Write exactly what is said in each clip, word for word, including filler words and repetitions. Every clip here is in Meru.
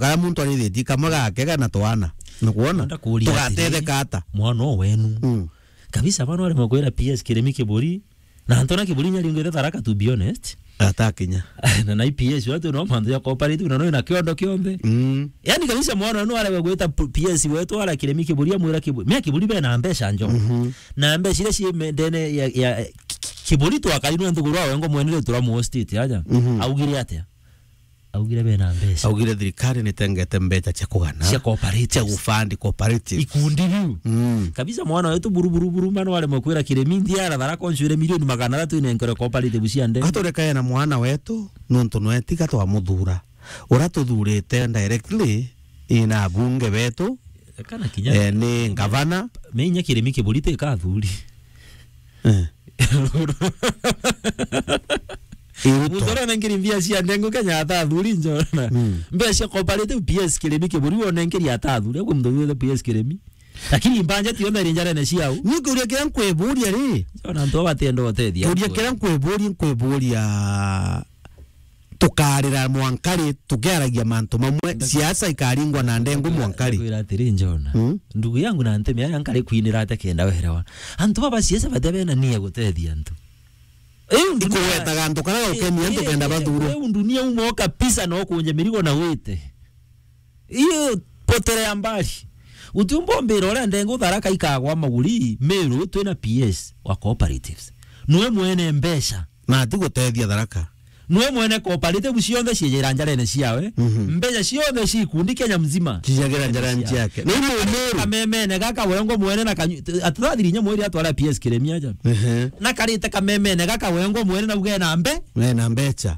Kara muntu arithitie kamwe gake kana twana. Nukwona? Ndakuria atiri, tugatetheka ata? Mwana o wenu. Mm. Kabisa bana wari makwira P S Kiremi Kiburi. Na Antona Kiburi nyaringwite Tharaka, to be honest. Atakinya. Na, na P S watu no mantu ya cooperative na no ina kiondo kionthe. Mm. Yani kabisa mwana no ara gwita P S wetu ara Kiremi Kiburi amwira Kiburi. Mia Kiburi be na mbeca njo. Mhm. Na mbeca iria ci me-, ndene ya, ya Ki-, Ki-, Kiburi twakari no nthuguru awe ngo mwenere turamu state aja. Mhm. Augire atia? Augire bena mbeca. Augire thirikari nitengete mbeca cia kugana, cia cooperatives, cia gufund cooperatives. Ikundi biu. Mm. Kabisa mwana wetu buru, buru, buru, mano aremwe kwira Kiremi ndia ara Tharaka ncwire milioni magana athatu inenkerwe cooperatives cia ndege. Gaturekae na mwana wetu, nontu nwe tiga twamuthura. Ura tuthurite directly, ina abunge betu, kana kinya, eh, ni ngavana. Menya Kiremi Kiburi ti kathuri. Eh. Muntu uria unengeri mbia cia ndengu Kenya atathuri njona. Mm. Mbia cia cooperative P S Kiremi Kiburi wonengeri atathuri. Agwe muntu withe P S Kiremi. Lakini mbanja tionthe iri njarene ciau. Ni kiuria kiria nkwiburia ri? Njona antu aba batienda utethia. Kiuria kiria nkwiburia, nkwiburia tukarira mwankari, tukiaragia mantu mamwe, siasa ikaringwa na ndengu mwankari. Ndakwira atiri, Njona. Mm. Ndugu yangu na ntemi aria nkari kwinira ate kenda werewa. Antu baba siasa bate bena nia gutethia antu. Iu ndunia, ikuwetaga antu kara gukenia antu kenda bathurwe. Iu ndunia umo kabisa no kunje mirigo na wite. Iyo potere ya mbali. Utiumba umbira uria ndengu Tharaka ikagwa maguri, Meru twina P S wa cooperatives. Nwe mwene mbeca. Na ati gutethia Tharaka. Nwe mwene cooperative cionthe ciejera njarene ciawe. Mhm. Mbeca cionthe ci ikundi Kenya mzima. Cijagira njarene ciake. Na imo Meru. Kamemene gaka wengo mwene na kanyu-, ati thathiri inya mweri atwara P S Kiremi aja. Ehe. Na karite kamemene gaka wengo mwene na uge na mbe. We na mbeca.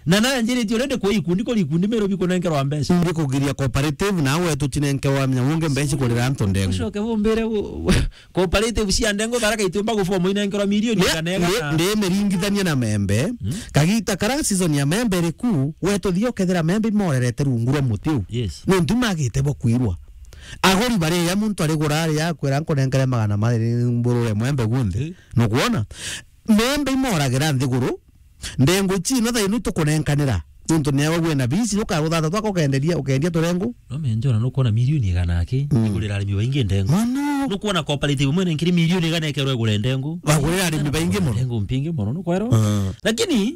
Na na njiriti already kwa ikundi, kuri ikundi Meru bikunenkerwa mbeca. Ndi kugiria cooperative, na wetu tinenkerwa menya wonge mbeca kurira antu ndengu. Ucoke bumbire u-, u-, cooperative cia ndengu Tharaka itiumba guform inenkerwa milioni igana igana. Ndi miringithania na membe. Mm. Kagita kara season ya membe iri ku, wetu thio kethira membe imorerete rungu rwa muti u. Yes. Nontu magite bo kwirwa. Aguri bari ya muntu ari gura ari ya kwira nkunenkere magana mari mburure mwembe gunthe. Eh. Nukwona? Membe imoragira nthiguru, ndengu ici no thaino itukunenkanira. Nontu ni awe wina bisi, ukarutha tatu ako ukenderia, ukendia turengu. No menjora nukwona milioni igana aki, mm, igurira arimi baingi ndengu. Mono. Nukwona cooperative imwe nenkiri milioni igana ikerwa igure ndengu. Bagurira arimi baingi mono. Ndengu mpingi mono, nukwero? Mm. Lakini,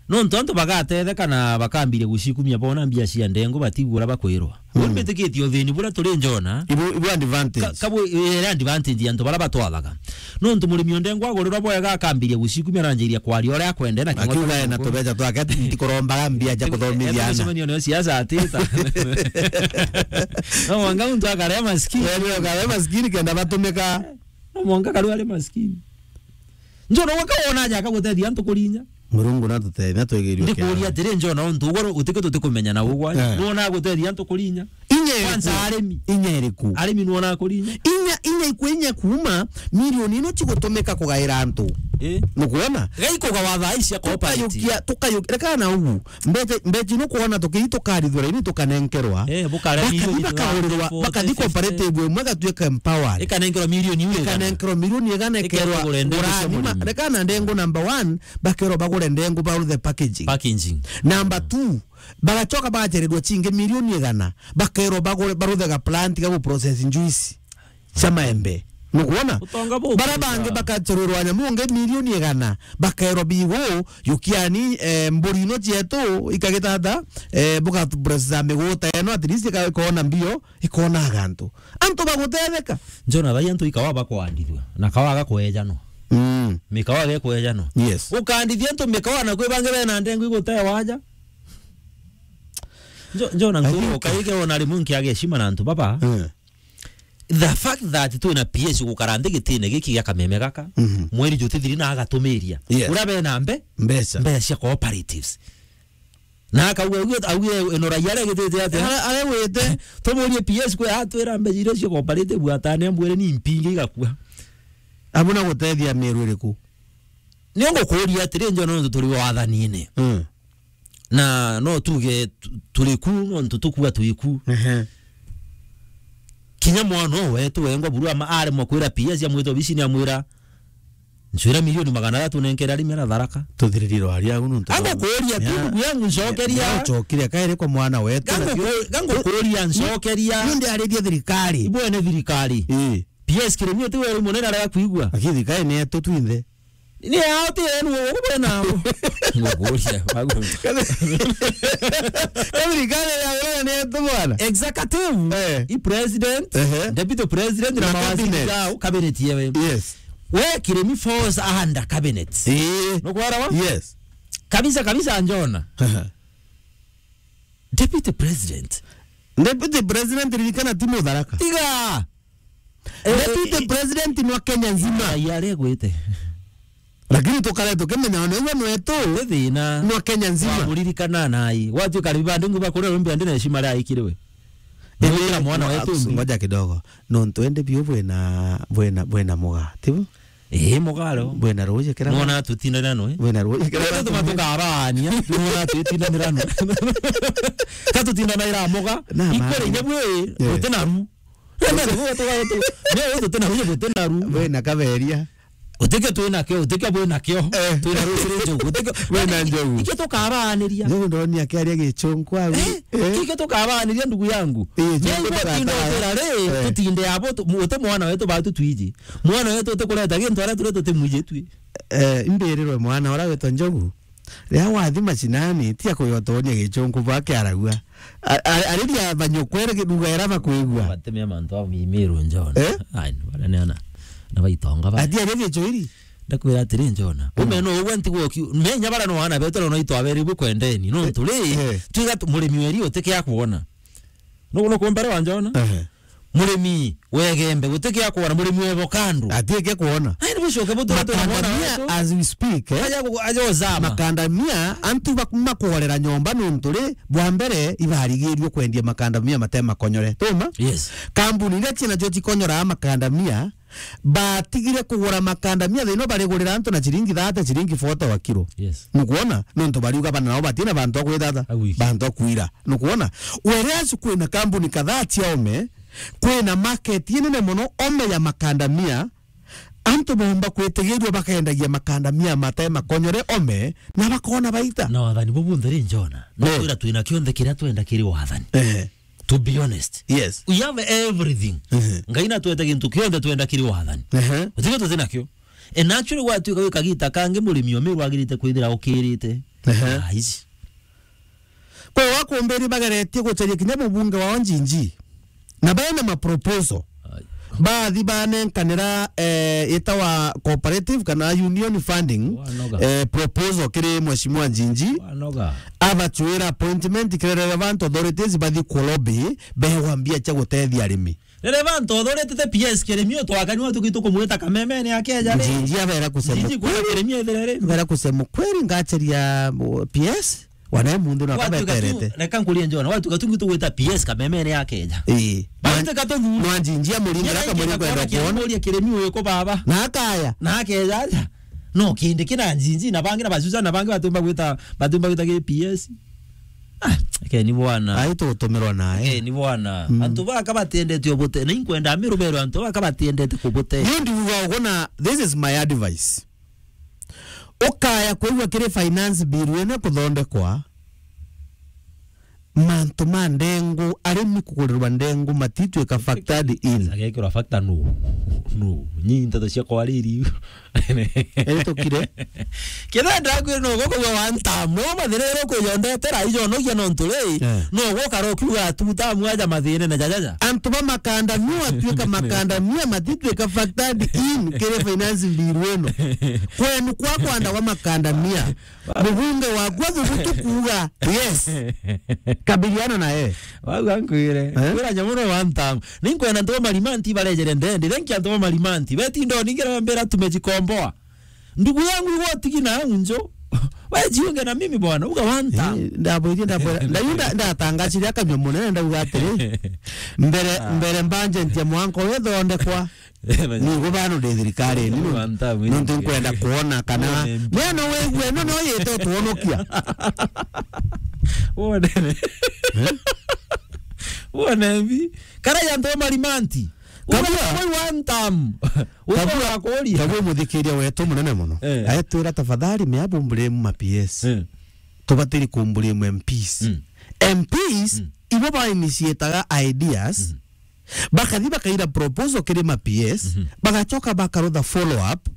nontu antu bagatetheka na bakambiria gucikumia bona mbia cia ndengu batigura bakwirwa. Mm. Buni bitikitie uthini buria turi njona. Ibu, ibu advantage. Ka-, kabu, eh, advantage ya antu baria batwathaga. Nontu murimi o ndengu agurirwa bwega akambiria gucikumia na anjiria kwaria uria akwenda na kiugo. Akiuga ena tubeca twake, ati ntikurombaga mbia cia kuthomithia ana. Micemanio nayo siasa atita. No mwanga muntu akaria maskini. Eh, ndio akaria maskini kenda batumika. No mwanga karu ari maskini. Njona waka wona aja akagutethia antu kurinya. Murungu natutethia, natwegerie. Ndikuria atiri, Njona, untu ugoro utike tutikumenya na ugwa. Eh. Nuona agutethia antu kurinya. Inya iriku? Kwanza arimi. Inya iriku? Arimi nuona kurinya. Inya, inya ikwe inya kuuma milioni ino cigutumika kugaira antu. Eh. Nukwona? Gaikugawa thaa ici cia cooperative. Tukayukia, tukayukia, reka na ugu. Mbeca, mbeca ino kwona tukithi tukarithwa raini tukanenkerwa. Eh, bukara. Bakathi milioni bakagurirwa, igana bakathi fifty. Cooperative imwe igatuika empowered. Ikanenkerwa milioni igana. Ikanenkerwa milioni igana ikerwa ikerwa igure ndengu cia ngurani ma-, murimi. Reka na ndengu number one, bakerwa bagure ndengu baruthe packaging. Packaging. Number two, bagacoka bagacererwa cingi milioni igana, bakerwa bagure, baruthe ga plant ga gu process juice cia maembe. Nukwona? Utonga buku. Bara bangi bakacererwa nyamu ngi milioni igana, bakerwa bigu, yukiani, eh, mburi ino cietu, ikagitata, eh, buga process miguta eno, at least ika-, ikona mbio, ikona agantu. Antu bagutetheka. Njona thai antu ikawa bakwandithua, na kawa gakwejanwa. Mm. Mikawa gekwejanwa. Yes. Ukandithia antu mikawa na kwi bangi bena ndengu igutewa aja. Njo-, Njona ntu ukaige ona rimwe nkiage heshima na antu baba. Mm. The fact that twina P S gukara nthi gitine giki gia kameme gaka, mhm, mweri jutithiri na agatumiria. Yes. Uria bena mbe-, mbeca, mbeca cia cooperatives. Na akauga, auge, auge, ino raia aria gitite atia? Ara-, aria wite. Tumurie P S kwe atwira mbeca iria cio cooperative atane ambwire ni mpingi igakua. Abu na gutethia Meru iriku? Ni ngukuria atiri, Njona, nontu turi wathanine. Mm. Na no tuge tu-, turi ku, nontu tukua twi ku. Ehe. Kinya mwana o wetu wengwa buru ama aremwa kwira P S amwita obicini amwira, Ncwira milioni magana athatu nenkere arimi ara Tharaka. Tuthiririe rwaria au nontu. Ango kuuria tu, ndugu yangu, ncokeria. Ncokeria kairi kwa mwana wetu. Gango ku-, gango kuuria, ncokeria. Ni ndiaririe thirikari. Ibwene thirikari. Ii. P S Kirimi ti weru munene arega kuigua. Lakini thirikari ni yetu twinthe. Ni yao ti yenu, ugu bwena abo. Ngukuria, bagu. Thirikari ya weru ni yetu bwana. Executive, eh, i president, ehe, deputy president, na mawaziri cabinet. Na mawaziri jao, cabinet yewe. Yes. We Kirimi falls under cabinet. Eh. Nukwarawa? Yes. Kabisa, kabisa, Njona. Deputy president. Deputy president ririkana ti Mutharaka. Tiga. Eh, deputy president nwa Kenya nzima. Ai, aregwite. Lakini tukare tukimenya ona igwe nwetu. Ni thina. Nwa Kenya nzima. Wamuririkana nai. Watuika ribandu ngu bakore rumbi andi na heshima ria ikiriwe. Indi mwana wetu mbi. Ngoja kidogo. Nontu indi biu bwina, bwina, bwina muga, tibu? Ii, muga ro. Bwina ruuji kira. Mwana tutindanira nwe. Bwina ruuji kira. Indi tuma tukabaania, mwana tutindanira nwe. Ka tutindanaira muga. Na ikore mani. Nyebu ii, yeah, guti na ru. Nyebu tuga tu. Nyebu tuti na ru, guti na ru. Bwina kaberia. Utikio twina kio, utikio bwina kio. Eh. Twina ru kiri njogu, utikio. Bwina njogu. Ikio tukabaaniria. Ndio ndoni akiaria gichungu au. Eh? Eh? Ikio tukabaaniria ndugu yangu. Eh, ndio tukabaaniria. Ri, eh, tutinde abo tu-, mu-, uti mwana wetu batu twiji. Mwana wetu utikureta gintu aria turi tutimwiji twi. Eh, imbirirwe mwana uria witwa Njogu. Riria wathi mashinani, tia kuyotonia gichungu bwa kiaragua. A-, a-, ariria banyokwere kiruga era bakwigua. Batemia mantu a mimiru Njona. Eh? Ai, bara ni ana. Na baitonga ba. Ati aria gichwiri? Ndakwira atiri Njona. Mm. Ume no ugwe ntigwo ki-, menya bara no ana betu no itwabere bwe kwendeni. No turi, eh, twiga tu-, murimi weri utike akwona. No, no kumbere wa Njona? Ehe. Murimi wegembe, gutikia kuona, murimi webo kando. Atiike kuona. Ai, ni bucoke butu-, tu mwana wetu. Makandamia as we speak, eh? Aja ku-, aja uzama. Makandamia, antu bak-, makuorera nyomba nontu ri, bwa mbere, ibarigirio kwendia makandamia mate makonyore. Tuma? Yes. Kambuni iria ciina cio cikonyoraa makandamia, batigire kugura makandamia, thina barigurira antu na ciringi thirty, ciringi forty wa kiro. Yes. Nukwona? Nontu bariuga bana nao batina bantu a kwithata, a wiki, bantu a kwira. Nukwona? Whereas kwina kambuni kadhaa cia ome, kwina market inene mono ome ya makandamia, antu bomba kwitigirua bakendagia makandamia mate makonyore ome, na bakona baita. Na wathani bubu ntheri Njona. No, eh, twira twina kionthe kiria twenda kiri wathani. Eh. To be honest. Yes. We have everything. Mhm. Ngai natwete gintu kionthe twenda kiri wathani. Ehe. Utige tuti nakio. And actually, gwatuika wi kagita kangi murimi o Meru agirite kwithira ukirite. Ehe. Ah, ici. Kwa wakumbiri bageretie gucaria kinya mubunge wao Njinji. Na bena ma proposal. Ai. Bathi banenkanira, eh, itawa cooperative kana union funding, wanoga, eh, proposal kiri Mheshimiwa Njinji. Wanoga. Abachwira appointment kiri relevant authorities bathi ku lobby, begwa mbia cia gutethia arimi. Relevant authority te P S Kirimi, utwakani watu kitu kumwita kamemene akeja ri. Njinji abera kusema Njinji kweli. Kirimi ethire ri. Abera kusema kweli ngacheria, uh, P S. Wana muntu na watuka tu, kabeterete. Reka nkurie Njona, watuka tu ngitu gwita P S kamemene akeja. Ii. Bante ka tuthuri. Nwa Njinji amuringira. Nyara kamuri ingi kwenda akabona kuona. Muria Kirimi uyu ku baba. Na akaya. Na akeja aja. No, kindi kina Njinji, na bangi na bacuca, na bangi batumba gwita, batumba gwita ki P S. Ah, ke ni bwana. Ai tutumirwa nae. Ke ni bwana. Mm. Antu baka batendete ubute, na inkwenda Meru berwe antu baka batendete kubute. Ni ndiuga ugu na, this is my advice. Ukaya kwigua kiri finance bill ino kuthondekwa, mantu ma ndengu, arimi kugurirwa ndengu matitwika factored in. Agekirwa factor no. No. Nyi nteto cia kwariri. Eri tukire. Kenda ndakwira no goko gwa one term. No mathiriro kuyondetera ijo no gia no nturi. Eh. No gokara ukiuga two term aja mathire na jajaja. Antu ba makandamia watwika makandamia matitwika factored in kiri finance bill ino. Kwenu kwa kwanda wa makandamia. Mubunge wakwa thubutu kuuga, yes. Kabiliana na yeye. Wau ankwire. Eh? Kwira nyamu no one term. Ninkwenda antu ba Marimanti barejere ndendi. Thank you antu ba Marimanti. Beti ndo ningira mbera tumejikomboa. Ndugu yangu, igwa utigi na unjo. Wejiunge na mimi bwana, uga one term. Eh, ndabwire, ndabwira. Ndayunda, ndatangachire akanywa munene, ndauga atiri. Mbere, ah, mbere budget ya mwanka uyu ithondekwa. Nigo bano ndi thirikari ni no. One term, nontu nkwenda kuona kana. One M P. Mwana wigue no no yete tuonokia. One. Eh? One M P. Kara ya ndo Marimanti. Kabua. Uwe one term. Uwe Kabua, wakuria. Kabua muthikiria wetu munene muno. Eh. Aetwira, "Tafadhali, mea bumbure ma P S." Eh. Tubatiri kumbure ma M Ps. Mm. M Ps, mm, ibo ba initiataga ideas, mm, bakathi bakaira proposal kiri ma P S, mhm, bagacoka bakarutha follow up,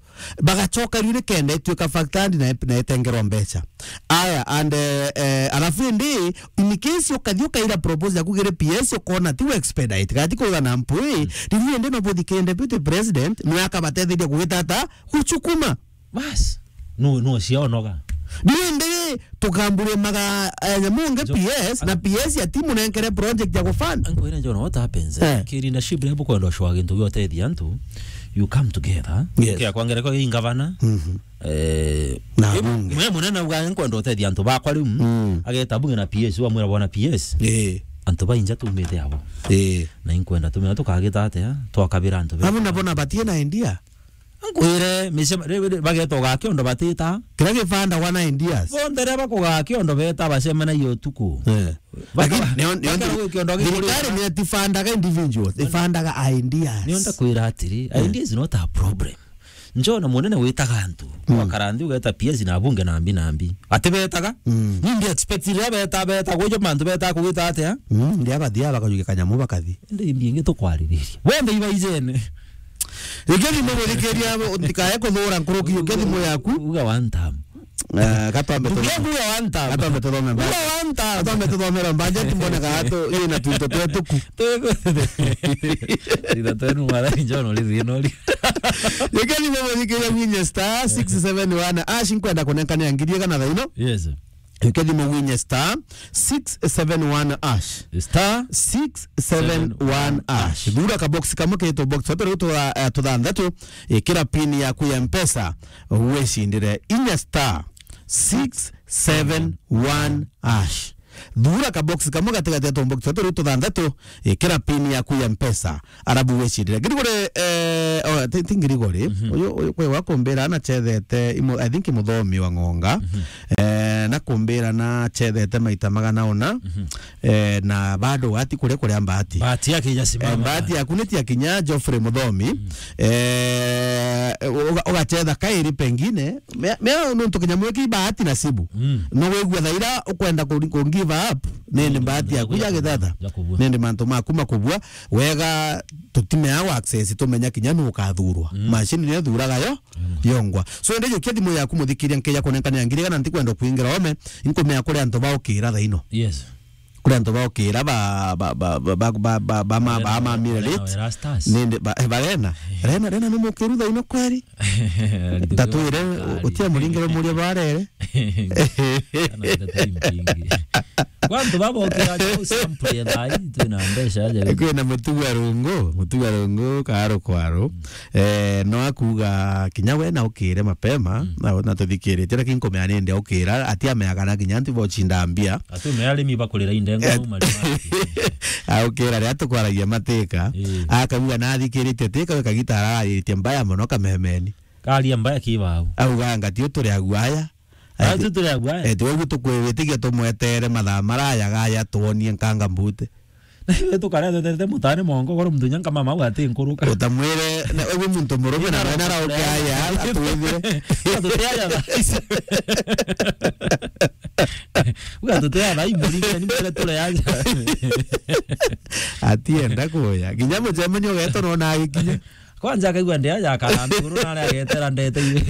bagacoka riu nikenda ituika factor na, na itengerwa mbeca. Aya, and, eh, eh, alafu indi, in case ukathi ukaira proposal yaku kiri P S, ukona ti expedite, gati kuuga na mpwi, mm, riu indi no buthike deputy president, nwe akabatetheria kugitata, gucukuma. Bas. No, no, cionoga. Riu indi, tukamburimaga, eh, nyamu nge P S, na P S ati munenkere project ya gufund. Ankwira, John, what happens? Eh. Ki leadership ria bukwenda ucwa gintu giotethia antu, you come together. Yes. Kia kwa ngereko gi ngavana. Mhm. Eh, na bunge. Mwe munene uga nkwenda utethia antu bakwa riu. Mm. Ageta bunge na P S, wamwira bona P S. Eh. Antu bainja tumite abo. Eh. Na inkwenda tumira tukagita atia, twakabira antu. Abo nabo na batie na idea. Nkwire, micema-, ri-, ri-, bageta uga kiondo batita. Kiria gibandagwa na ideas. Bonthe riria bakuga kiondo beta bacemanagia utuku. Eh. Baka-, lakini nio, nio, bakara gwi kiondo thirikari gikuriana. Nio tibandaga individuals, ibandaga ideas. Nio ndakwira atiri, eh, idea is not a problem. Njona munene witaga antu, mm, wakara nthi ugeta P S na bunge na mbi na mbi. Ati betaga? Mm. Ni ndi expect riria beta, beta, gujo mantu beta kugita atia? Mm, ndia bathia bakajukia kanyamu bakathi. Ndi mbi ingi tukwaririria. Bonthe ibaijene. Reke thimu guthikiria, ndikae kuthura nkuruki, uke thimu yaku. Uga one time. Eh, gatwambe tu-, uga one time. Gatwambe tuthome Bible. Uga one time. Gatwambe tuthome Bible, mbanje tumbone ka atu, ina twito twetuku. Twiko. Ina twenu mara injono lithi no li. Reke thimu guthikiria gwinye star six seven one ash, nkwenda kunenkania ngiri igana thaa ino. Yes. Reke thimu gwinye star six seven one ash. Star six seven one ash. Thura ka box kamwe ketu box. Watu riu tutha-, eh, tuthanthatu, ikira pin yaku ya Mpesa, wicindire inya star six seven one ash. Thura ka box kamwe gatigati ya tubox tatu riu tuthanthatu, ikira pin yaku ya Mpesa, arabu wicindire. Ngirigori, eh, oh, ti, ti Ngirigori, mhm, uyu, uyu kwi wa kumbira anacethete, imo-, I think muthomi wa Ng'onga, mhm, eh, na kumbira nacethete maita magana ona, mhm, eh, na bado wati kuria kuria mbati. Bahati yake ijasimama. Eh, bahati yaku ni tia kinya Geoffrey Muthomi, mm, eh, uga-, ugacetha kairi pengine, mea, mea nuntu kinyamu giki bahati nasibu. Mm. No wigua thaira ukwenda ku, ku give up, nindi, mm, bahati yaku ya githatha. Ya kubua. Nindi mantu maku makubua, wega tutimea wa access, tumenya kinya nu ukathurwa. Mm. Machine ni thuraga yo, mm, yongwa. So, ende jukia thimu yaku muthikiria nkeja kunenkania ngiri igana ntikwenda kuingira ome, inkumea kuri antu baukira thaino. Yes. Kuri antu baukira ba, ba, ba, ma, ba, ma, mire late. Nindi, ba, eh, barena. Rena, rena ni mukiru thaino kweri? Tatwire, utia muringiro muria barere. Kana ndeto impingi. Kwa antu baba ukira jo sample ya thai, twina mbeca aja. Kwina mutuga rungu, mutuga rungu, karo kwaro. Mm. Eh, no akuga kinya we na ukire mapema, mm, na, na tuthikiritie, lakini nkumea nindi aukira, ati ameaga na kinya antu bochinda mbia. Ati umea arimi bakurira indengo, eh, marima. Aukira ria tukwaragia matika, eh, akauga na athikiritie tika, kagita araritie mbaya muno kamemeni. Karia mbaya kibau. Auga ngati uturi aguaya. Ati, ati turi aguaya. Eti, ugu tukwitigia tumwetere mathaa maraya gaya tuonie nkanga mbute. Na ithuĩ tũkarĩa tweterete mũtaane mongo, korwo mũthenya nkama mau atĩ nkuruka. Ũtamwĩre, na ũguo muntu mũrũme na mwana arauke aya, atwĩthire. Tũteaga thaa ici. Uga tũteaga thaa imũringe, ni mbere tũre aja. Atienda kuya. Nginya mũcemanio geto no na agĩkinya. Kwanza akaigua ndea ya kana nthiguru na aria agetera ndete iwe.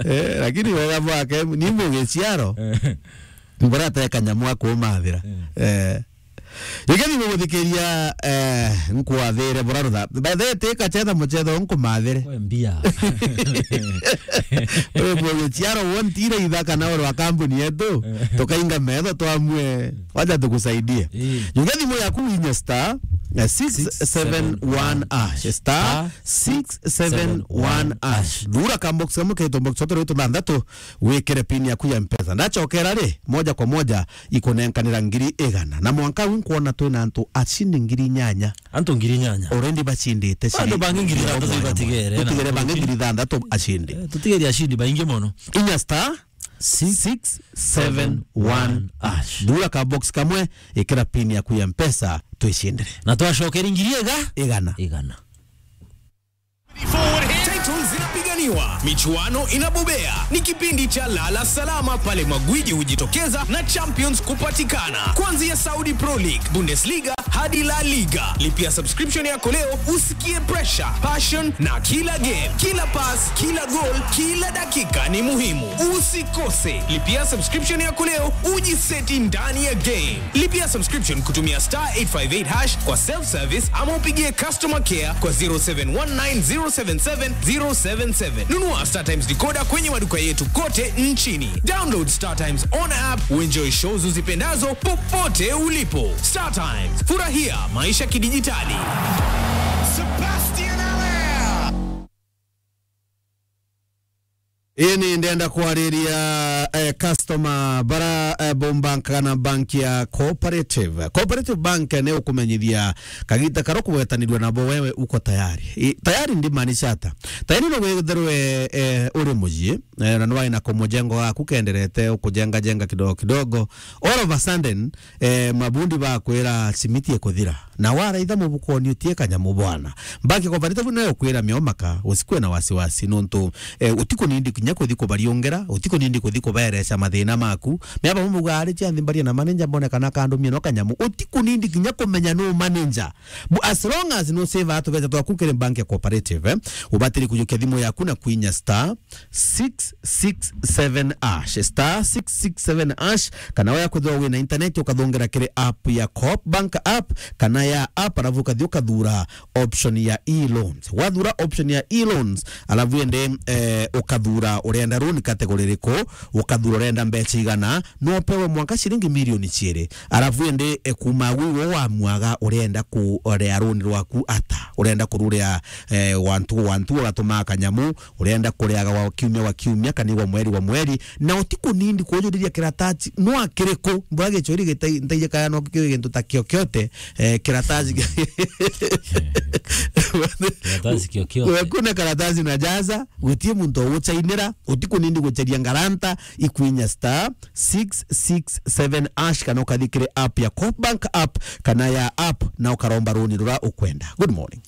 Eh, lakini wega bwake, ni mũgĩciaro. Eh. Mbura te kanyamu akumathira. Eh. Eh. Igethi guguthikiria, eh, nkwathire bura rutha. By the way, ti kachetha muchetho nkumathire. We mbia. We mũgĩciaro wontire itha kana oro wa kambuni yetu, eh, tukainga metho twamue, wacha tukusaidie. Eh. Igethi mu yaku winye star, eh, six seven one ash. Star six seven one ash. Thura ka box kamwe ketu box tatu thanthatu, wikire pin yaku ya Mpesa. Ndachokera ri, moja kwa moja ikunenkanira ngiri igana. Na mwanka uu nkwona twina antu acindi ngiri inyanya. Antu ngiri inyanya. Already bacindite. Antu bangi ngiri ithanthatu ibatigere, na tutigere bangi ngiri ithanthatu acindi. Eh, tutigere acindi baingi mono. Inya star six seven one ash. Thura ka box kamwe, ikira pin yaku ya Mpesa, twicindire. Na twacokeri ngiri iga? Igana. Igana. Title zinapiganiwa, michuano inabobea. Ni kipindi cha lala salama pale magwiji hujitokeza na champions kupatikana. Kuanzia Saudi Pro League, Bundesliga hadi La Liga. Lipia subscription yako leo usikie pressure, passion na kila game, kila pass, kila goal, kila dakika ni muhimu. Usikose. Lipia subscription yako leo ujiseti ndani ya game. Lipia subscription kutumia star eight five eight hash kwa self service ama upigie customer care kwa zero seven one nine zero seven seven zero seven seven. Nunua Star Times decoder kwenye maduka yetu kote nchini. Download Star Times on app, uenjoy shows uzipendazo popote ulipo. Star Times, furahia maisha kidijitali. Sebastian Allaire. Ini ndenda kwariria, eh, customer bara, eh, bombankaga na bank ya Cooperative. Cooperative Bank ni ukumenyithia kagita karia ukugwetanirua nabo wewe uko tayari. I, tayari ndimaanisha ata? Tayari no witherwe, eh, uri mucii, eh, na nwai na kumujengo gaku kenderete ukujenga jenga kidogo kidogo. All of a sudden, eh, mabundi bakwira simiti ikuthira. Na waraitha mubukoni utie kanyamu bwana. Bank ya Cooperative nayo kwira miomaka, usikwe na wasiwasi, nontu, eh, utikunindi kinya kuthi kubariungera, utikunindi kuthi kubereca mathina maku. Miaba mubuga ari cia nthi mbaria na manager mbone kana kandumia no kanyamu. Utikunindi kinya kumenya no manager. Bu-, as long as no save atu beca twaku kiri bank ya Cooperative, eh, ubatiri kujukia thimu yaku na kwinya star six six seven hash, star six six seven hash, kana waya kwithirwa wina internet ukathongera kiri app ya Coop Bank app, kana ya app, alafu ukathi ukathura option ya e-loans. Wathura option ya e-loans, alafu ende, eh, ukathura urenda loan category iriku, ukathura urenda mbeca igana, no upewe mwanka ciringi milioni ciiri. Alafu ende, eh, kuma gwi wo wamwaga urenda kurea loan rwaku ata, urenda kururea, eh, wantu, wantu ugatumaa kanyamu, urenda kuriaga wa kiumia wa kiumia, kana igwa mweri wa mweri, na utikunindi kujuriria kiratasi no akiriku, mbura gichuri gitai-, ntaije kaya no kiri gintu ta kiokiote, eh, kiratasi. Kiratasi kiokiote. Kuna karatasi na jaza, gutie muntu uguchainira, utikunindi gucheria ngaranta, ikwinya star six six seven hash, kana ukathi kiri app ya Coop Bank app, kana ya app, na ukaromba runi rura ukwenda. Good morning.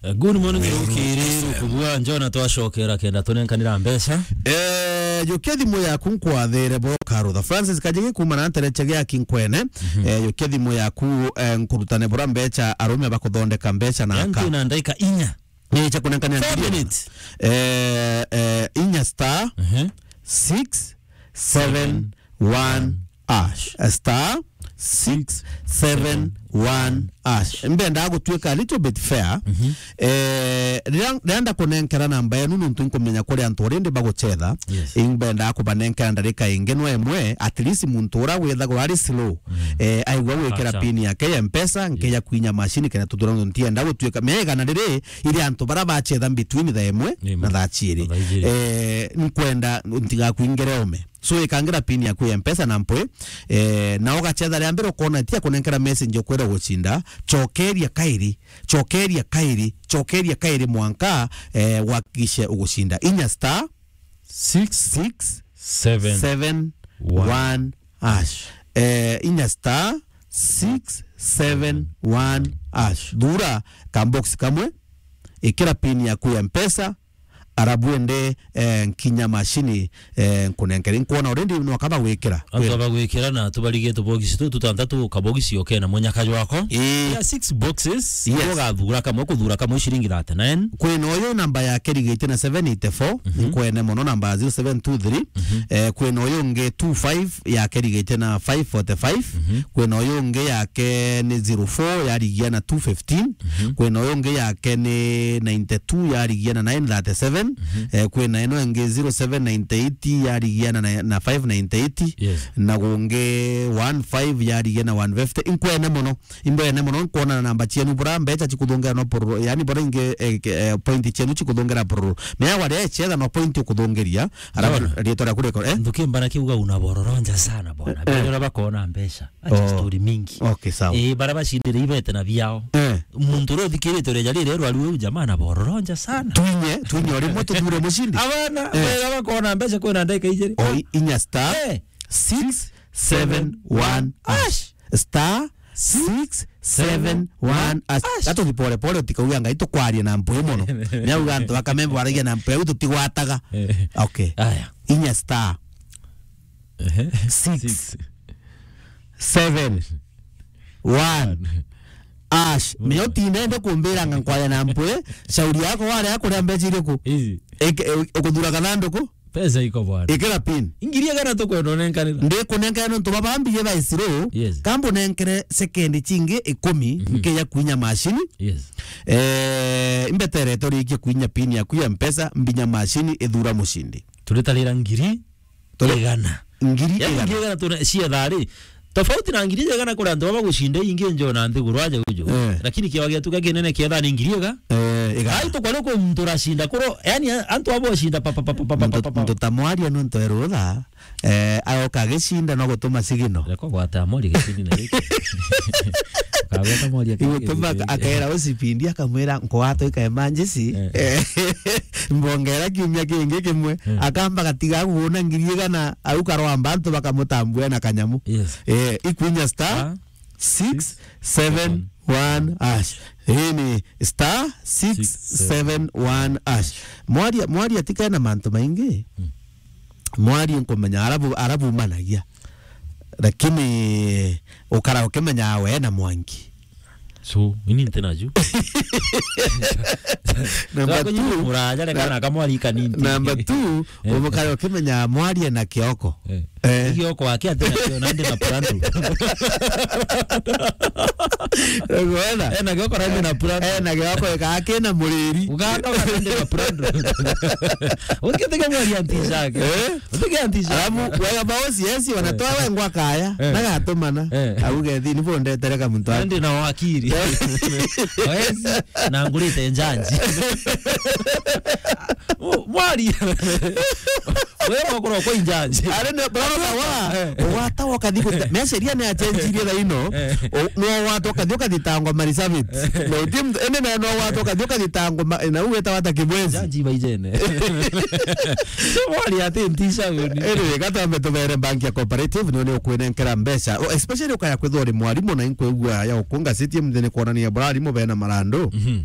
Eh, good morning, Rukiri, Rukubua, Njona, twacokera kenda tunenkanira mbeca. Eh, jukia thimu yaku nkwathere bro Karutha. Francis Kajigi kuma na ntereche gia Kinkwene. Mhm. Eh, jukia thimu yaku, eh, nkurutane bura mbeca, arume bakuthondeka mbeca na aka. Yantu na ndaika inya. Ni cha kunenkanira. Four minutes. Eh, eh, inya star. Mhm. Six seven one hash. A star six seven one hash. Mbenda gutwika a little bit fair. Mhm. Eh, riria, riria ndakunenkera namba yenu nuntu nkumenya kuri antu already baguchetha. Yes. Imbenda kubanenkera ndarika ingi no imwe, at least muntu ura withagwa ari slow. Mm. Eh, aigua gwikira pin yake ya Mpesa, nkeja kwinya machine kena tuthura ntienda gutwika. Mega na riri, iri antu bara bachetha between thaa imwe na thaa ciiri. Na thaa ciiri. Eh, nkwenda ntigakwingire ome. So, ikangira pin yaku ya Mpesa na mpwi, eh, na ugachetha ria mbere ukona tia kunenkera message ukwira gucinda, chokeria kairi, chokeria kairi, chokeria kairi mwanka, eh, wakishe ugucinda. Inya star six six seven one hash. Eh, inya star six seven one hash. Thura ka box kamwe, ikira pin yaku ya Mpesa, arabu ende, eh, nkinya machine, eh, nkunenkere. Nkwona already no kaba gwikira. Antu aba gwikira na tubarige tubogisi tu tutantatu, kabogisi oke na munyaka jwako. Ii. Ya six boxes, yes. Ugathura kamwe, kuthura kamwe ciringi thirty-nine. Kwina uyu namba yake rigite na seven eighty-four, mhm, nkwene muno namba zero seven two three. Mhm. Eh, kwina uyu ungi two five yake rigite na five forty-five. Mhm. Kwina uyu ungi yake ni zero four yarigia na two fifteen. Mhm. Kwina uyu ungi yake ni ninety-two yarigia na nine thirty-seven. Mhm. Eh, kwina ino ingi zero seven ninety-eight yarigia na, na five ninety-eight. Yes. Na gungi one five yarigia na one fifty. Inkwene muno. Imbwene muno, nkwona na namba cienu bura mbeca cikuthongera no pororo. Yani bura ingi, eh, ke-, eh, point cienu cikuthongera pororo. Mea waria echetha no point ukuthongeria. Alafu rietwa riaku riko, eh? Nthuki mbana kiuga una bororonja sana bwana. Eh, eh. Bale bakona mbeca. Acha story mingi. Okay, sawa. Eh, bara bacindire ibete na biao. Eh. Muntu uria uthikirite uria jari rero ari uyu jamaa na bororonja sana. Twinye, twinye rimwe tuthure mucindi. Abana, eh, bara bakona mbeca kwina ndagika ijiri. O, i-, inya star, eh, six seven one hash. Star six seven one hash. Ash. Gatuthi pole pole, utikauga Ngai tukwaria na mpwi mono. Niauga antu ba Kameme baragia na mpwi, au tutigwataga. Eh. Okay. Aya. Inya star. Ehe. Six. Six. Seven. One. Ash. Mio tinende kumbira nga nkwaria na mpwi, shauri yako wari akuria mbeca iriku? Easy. Eke-, e-, ukuthura kathanduku? Pesa iko bwana. Ikira pin. Ngiri igana tukwenda unenkanira. Ndikunenkanira nontu baba mbige ba isiro. Yes. Kambu nenkere sekendi chingi ikumi, mhm, nkeya kuinya mashini. Yes. Eh, imbeterete urikie kuinya pin yaku ya Mpesa, mbinya mashini ithura mushindi. Turitarira ngiri Turi- igana. Ngiri igana. Yaani ngiri igana tuna-, cia thari. Tofauti na ngiri igana kuri antu baba gucinda ingi njo na nthiguru aja uju. Eh. Lakini kiawa gietu kia kinene kietha ni ngiri iga. Eh, igana. Ai tukwari ku muntu uracinda kuro, yani antu abo cinda pa, pa, pa. Muntu ta mwaria nontu erutha, eh, ayoka agicinda no gutuma sigino. Reko gwata mori gicini na giki. Kagweta mori akiri. Igutuma akera ucipindi akamwira, "Nkwato ika emergency." Eh. Eh, mbongera kiumia kingi kimwe. Eh. Akamba gatiga kuona ngiri igana au karwamba antu bakamutambua na kanyamu. Yes. Eh, ikwinya star six seven one hash. Hii ni star six seven one hash. Mwaria, mwaria tikena mantu maingi. Mm. Mwaria nkumenya arabu, arabu managia. Lakini ukara ukimenya we na Mwangi. So, ini ntina ju. Number two, muraja reka na kamwari kanini. Number two, eh, umukare ukimenya mwarie na kioko. Eh. Eh. Kioko wake ati na kio nandi na purandu. Unaona? Eh, na kioko nandi na purandu. Eh, na kioko ikake na muriri. Ugaka nandi na purandu. Ukitega mwari anti shake. Eh? Utege anti shake. Alafu, wega bao siesi, wanatoa, eh, wengwa kaya, eh, nagatumana. Eh. Auge, "Thi, ni bo ndetereka muntu wa." Nandi na wakiri. Wezi, na ngurite njanji. Mu-, mwari. Wewe wakora kwa njanji. Ari ne, brother, wa, eh, ugwata ukathi guta-, me sheria ni achenjirie thaa ino. Eh. O, no ugwata ukathi ukathitangwa marisabit. Eh. Na uti mtu, ene na no ugwata ukathi ukathitangwa ma-, na ugweta wata kibwezi. Njanji baijene. So mwari ati ntisha uni. Anyway, gatambe tubere bank ya cooperative, no ni ukwinenkera mbeca. O, especially ukaya kwithwa uri mwarimu na inkwigua ya ukunga city mthini kuonania bura arimu bena marandu. Mhm.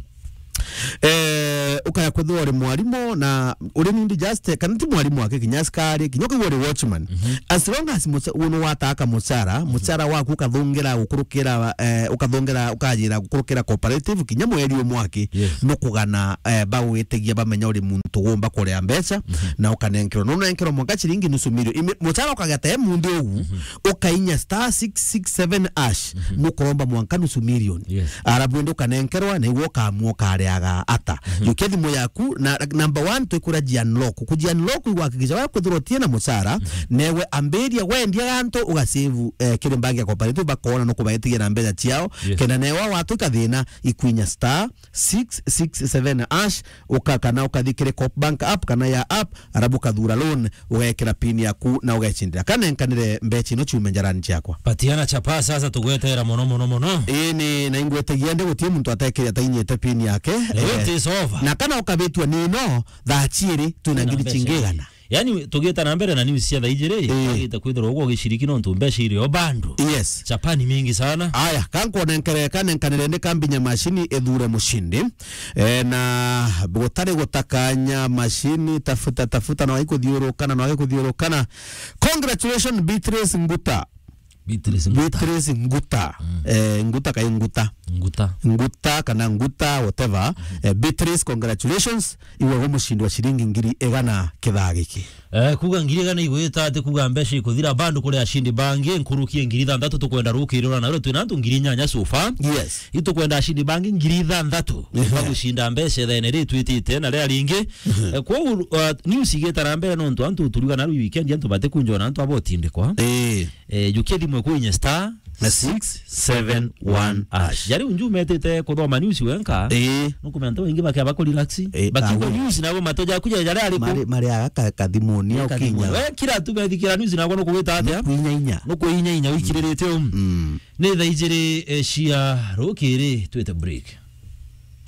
Eh, ukaya kwithirwa uri mwarimu na uri nindi just, kana ti mwarimu wake, kinya askari, kinya ukaigua uri watchman. Mhm. As long as muca-, unu wataka mucara, mhm, mucara waku ukathungira gukurukira, eh, ukathungira, ukajira gukurukira cooperative, kinya mweri umwe aki, yes, nukugana, eh, bagwitigia bamenya uri muntu gumba kuria mbeca, mhm, na ukanenkerwa. Nunenkerwa mwanka ciringi nusu milioni. Imi-, mucara ukageta e munthi ugu, mhm, ukainya star six six seven hash, mhm, nukuromba mwanka nusu milioni. Yes. Arabu indi ukanenkerwa, na igwe ukamua ukariaga ata. Mhm. Jukia thimu yaku, na number one, twikura ji unlock. Kuji unlock, igwakikisha waya kwithirwa utie na mucara, mhm, newe ambiria wendia gantu, ugasave, eh, kiri bank ya cooperative, bakona nukubaitigia na mbeca ciao, yes, kenda newa watu ikathina, ikwinya star six six seven hash, uka-, kana ukathi kiri Coop Bank app kana ya app, arabu ukathura loan, ugekira pin yaku na ugecindira. Kanenkanire mbeca ino ciume njarani ciakwa. Patiana chapa sasa, tugwetera mono, mono, mono. Ii ni, na ingwetagia ndi gutie muntu atekire atainyite pin yake. Eh, it is over. Na kana ukabitwa nino, thaa ciiri, twina ngiri cingigana. Yani, tugita na mbere na news cia thaa ijiri, eh, bagita kwithirwa uguo ugiciriki nontu mbeca iri o bando. Yes. Chapa ni mingi sana. Aya, kankuonenkere, kanenkanire ndi kambinya mashini ithure mushindi. Eh, na gutari gutakanya mashini, tafuta, tafuta, na wai kuthiurukana, na wai kuthiurukana. Congratulations, Beatrice Nguta. Beatrice Nguta. Beatrice Nguta. Mm. Eh, Nguta kai Nguta. Nguta. Nguta kana Nguta, whatever. Mm. Eh, Beatrice, congratulations. Iwe gu mushindi wa ciringi ngiri igana kithaa giki. Eh, kuga ngiri igana igwita ati kuga mbeca ikuthira bandu kuri ashindi bangi, nkuruki e ngiri ithanthatu tukwenda rukiri ura nario twina antu ngiri inyanya so far. Yes. Itukwenda ashindi bangi ngiri ithanthatu. Ehe. Bagucinda mbeca ithaene ri twitite na ria ringi. Ehe. Eh, kwou, uh, news igita na mbere nontu antu turiga naru weekend antu batikunjwa na antu abotindikwa. Eh. Eh, jukia thimu iku inye star na six seven one hash. Jari unju metite kuthoma news wenka. Eh. Nukumenya antu baingi bakiaba ku relax. Eh, bakigwa news nabo mato jaku jaria ariku. Mari, mari aga ka-, kathimuni. Eh, au kathimuni. Kinya. We kira tu bethikira news nabo nukugwita atia? Nukuinya inya. Nukuinya inya wikiriritie um. Mm. Ni thaa ijiri, eh, cia rukiri twite break.